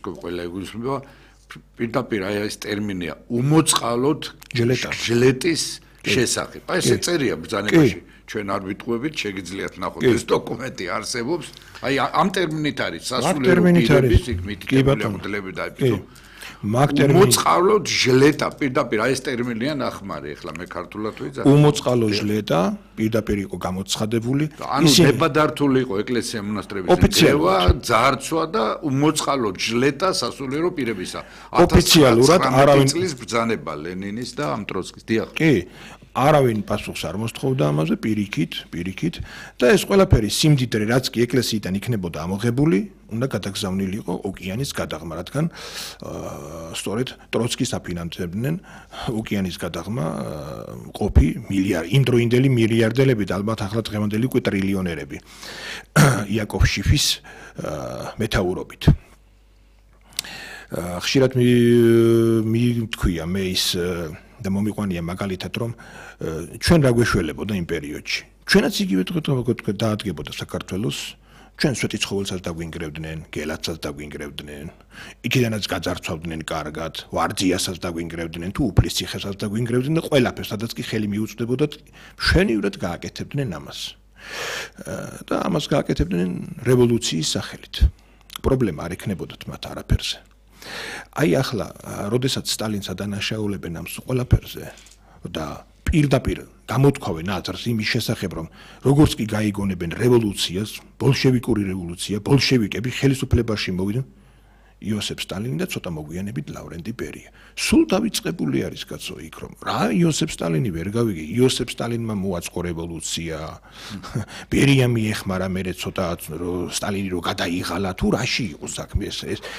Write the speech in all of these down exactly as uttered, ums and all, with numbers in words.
ყველა იგულისხმება პირდაპირ აი ეს ტერმინია უმოწყალოდ ჟელეტა ჟელეტის შესახებ. აი ესე წერია ბრძანებაში ჩვენ არ ვიტყუებით, შეგიძლიათ ნახოთ ეს დოკუმენტი არსებობს. აი ამ ტერმინით არის სასულიერო პირების იქ მითითებული ამბლები და აი მაგ ტერმინი უმოწყალოდ ჟელეტა პირდაპირ აი ეს ტერმინია ნახმარი ახლა მე ქართულად ვიძახ. უმოწყალო ჟელეტა პირდაპირ იყო გამოცხადებული. ანუ დებადართული იყო ეკლესია მონასტრების ძევა, ძარცვა და უმოწყალო ჟელეტა სასულიერო პირებისა. ოფიციალურად არავინ წლის ბრძანება ლენინის და ამ ტროცკის. დიახ. კი, არავინ პასუხს არ მოსთხოვდა ამაზე პირიქით, პირიქით და ეს ყველაფერი სიმდიდრე რაც კი ეკლესიიდან იქნებოდა ამოღებული, უნდა გადაგზავნილიყო ოკეანის გადაღმა, რადგან სწორედ ტროცკის აფინანსებდნენ ოკეანის გადაღმა ყოფი მილიარდ იმდროინდელი მილიარდელები და ალბათ ახლა დღევანდელი უკვე ტრილიონერები იაკოვ შიფის მეთაურობით. ხშირად მithქვია მე ის და მომიყვანია მაგალითად რომ ჩვენ რა გვეშველებოდა იმ პერიოდში. ჩვენაც იგივე თქვა დაადგებოდა საქართველოს, ჩვენ სვეტიცხოველსაც დაგვინგრევდნენ, გელათსაც დაგვინგრევდნენ, იქიდანაც გაძარცვავდნენ კარგად, ვარძიასაც დაგვინგრევდნენ, თუ უფლის ციხესაც დაგვინგრევდნენ და ყველაფერს, სადაც კი ხელი მიუწვდებოდათ, მშვენივრად გააკეთებდნენ ამას. და ამას გააკეთებდნენ რევოლუციის სახელით. პრობლემა არ ექნებოდათ მათ არაფერზე. აი ახლა, როდესაც სტალინს ადანაშაულებენ ამ ყველაფერზე და პირდაპირ გამოთქვავენ აზრს იმის შესახებ, რომ როგორც კი გაიგონებენ რევოლუციას, ბოლშევიკური რევოლუცია, ბოლშევიკები ხელისუფლებაში მოვიდნენ, იოსებ სტალინი და ცოტა მოგვიანებით ლავრენტი ბერია. სულ დავიწყებული არის კაცო იქ რომ რა იოსებ სტალინი ვერ გავიგე, იოსებ სტალინმა მოაწყო რევოლუცია. ბერია მიეხმარა მერე ცოტა სტალინი რო გადაიღალა თუ რაში იყო საქმე ეს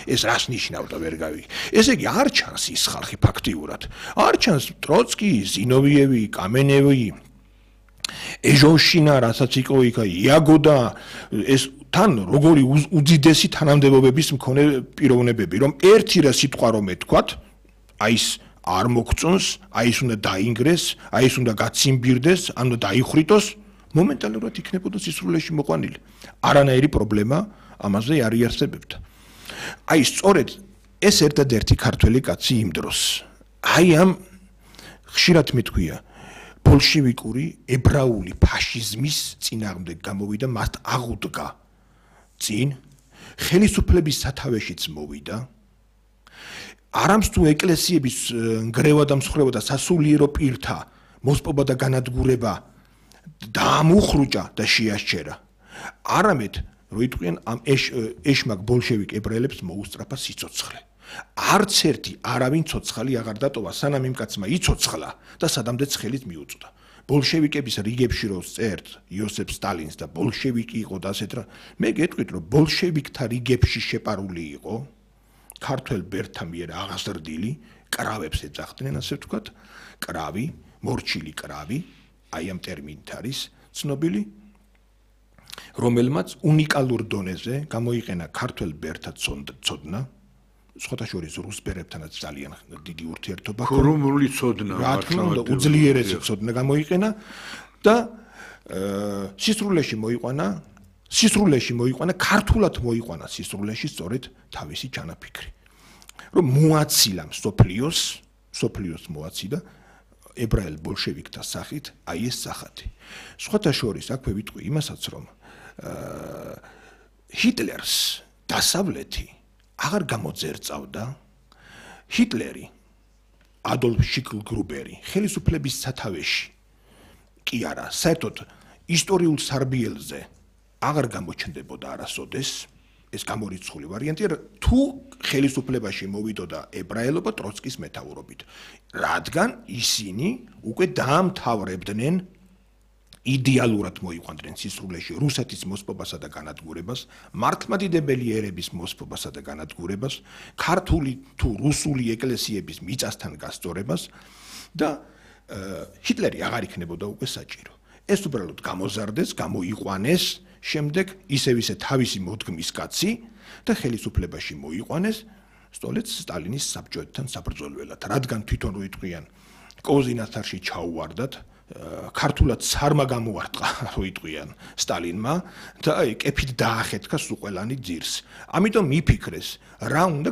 ეს რას ნიშნავდა ვერ გავიგე. ესე იგი არ ჩანს ის ხალხი ფაქტიურად. არ ჩანს ტროცკი, ზინოვიევი, კამენევი, ეჟონშინა, რასაც იყო იქ იაგო და ეს თან როგორი უძიდესი თანამდებობების მქონე პიროვნებები, რომ ერთი რა სიტყვა რომ ეთქვათ, აი ის არ მოგწონს, აი ის უნდა დაინგრეს, აი ის უნდა გაციმბირდეს, ანუ დაიხრიტოს, მომენტალურად იქნებოდა სისრულეში მოყვანილი. არანაირი პრობლემა ამაზე არ იარსებებდა. აი სწორედ ეს ერთადერთი ქართველი კაცი იმ დროს. აი ამ ხშირად მithქვია ბოლშევიკური ებრაული ფაშიზმის წინააღმდეგ გამოვიდა, მათ აღუდგა წინ ხელისუფლების სათავეშიც მოვიდა. არამც თუ ეკლესიების ნგრევა და მსხრევა და სასულიერო პირთა მოსპობა და განადგურება დაამუხრუჭა და შეასჩერა. არამედ რო იტყვიან ამ ეშმაკ ბოლშევიკ ებრაელებს მოუსწრაფა სიცოცხლე. არც ერთი არავინ ცოცხალი აღარ დატოვა, სანამ იმ კაცმა იცოცხლა და სადამდეც ხელით მიუწვდა. ბოლშევიკების რიგებში რო წერთ იოსებ სტალინს და ბოლშევიკი იყო და ასეთ რა, მე გეტყვით რომ ბოლშევიკთა რიგებში შეპარული იყო ქართველ ბერთა მიერ აღაზრდილი, კრავებს ეძახდნენ, ასე ვთქვათ, კრავი, მორჩილი კრავი, აი ამ ტერმინით არის ცნობილი, რომელმაც უნიკალურ დონეზე გამოიყენა ქართველ ბერთა ცოდნა, სხვათა შორის რუს ბერებთანაც ძალიან დიდი ურთიერთობა ჰქონდა. ქურუმული ცოდნა, რა თქმა უნდა, უძლიერესი ცოდნა გამოიყენა და სისრულეში მოიყვანა, სისრულეში მოიყვანა, ქართულად მოიყვანა სისრულეში სწორედ თავისი ჩანაფიქრი. რომ მოაცილა მსოფლიოს, მსოფლიოს მოაციდა ებრაელ ბოლშევიკთა სახით, აი ეს სახათი. სხვათა შორის აქვე ვიტყვი იმასაც, რომ ჰიტლერს დასავლეთი აღარ გამოძერწავდა. ჰიტლერი, ადოლფ შიკლგრუბერი, ხელისუფლების სათავეში კი არა, საერთოდ ისტორიულ სარბიელზე აღარ გამოჩნდებოდა არასოდეს, ეს გამორიცხული ვარიანტია, თუ ხელისუფლებაში მოვიდოდა ებრაელობა ტროცკის მეთაურობით, რადგან ისინი უკვე დაამთავრებდნენ იდეალურად მოიყვანდნენ სისრულეში რუსეთის მოსპობასა და განადგურებას, მართლმადიდებელი ერების მოსპობასა და განადგურებას, ქართული თუ რუსული ეკლესიების მიწასთან გასწორებას და ჰიტლერი აღარ იქნებოდა უკვე საჭირო. ეს უბრალოდ გამოზარდეს, გამოიყვანეს, შემდეგ ისევ ისე თავისი მოდგმის კაცი და ხელისუფლებაში მოიყვანეს სწორედ სტალინის საბჭოეთთან საბრძოლველად, რადგან თვითონ რო იტყვიან კოზინათარში ჩაუვარდათ ქართულად ცარმა გამოარტყა, რო იტყვიან სტალინმა და აი კეფით დაახეთქა სულ ყველანი ძირს. ამიტომ მიფიქრეს, რა უნდა